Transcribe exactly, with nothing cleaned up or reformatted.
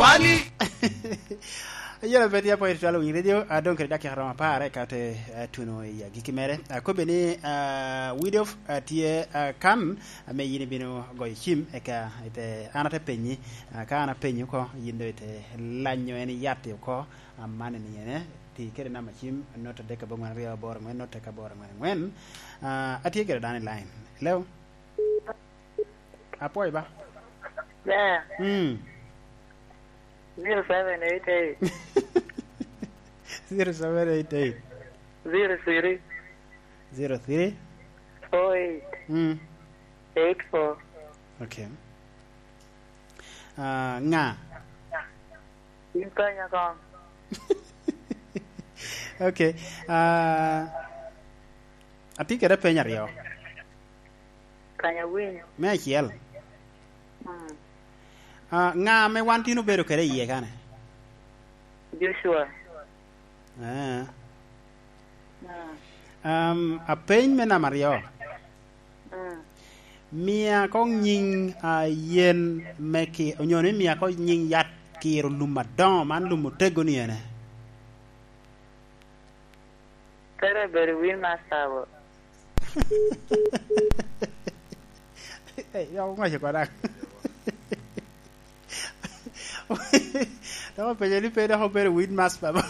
Ani. Ayela bed ya pwod itwalo winyo radio, a, dong kede dakika romo apar, eka te, a, tuno i agikki mere. A, kobbe ni, a, Widof, a, tye, a, kan, ame yin ibino goyo cim, eka ite, an ate penyi, a, ka an apenyi oko, yin do ite lanyo en iyat oko, a, man ni ene, ti kede namba cim, not adek abongwen aryo aboro angwen, not adek aboro angwen angwen. A, atye kede dano i line. Hello? Apwoyo ba. Yeah. Mm. Zero seven eight eight. Zero seven eight eight. Zero three. Zero three. Four eight. Mm. Eight four. Okay. Ah, nga? In kanya kong. Okay. Ah, atye kede peny aryo. Kanya winy. Me acel. Mm. Ah, nga ame wan tin obedo kede iye kane? Joshua. Ah. Mm. Um, apeny me namba aryo. Mm. Mia koŋ nyiŋ, ah, yen me ki, onyo ni mia koŋ nyiŋ yat kiro lum adoŋo, man lum otego ni ene. Pere bedo win ma sabo. Eh, ya oŋwaco koda. Dok openyo ni pe dok obedo win mas baba.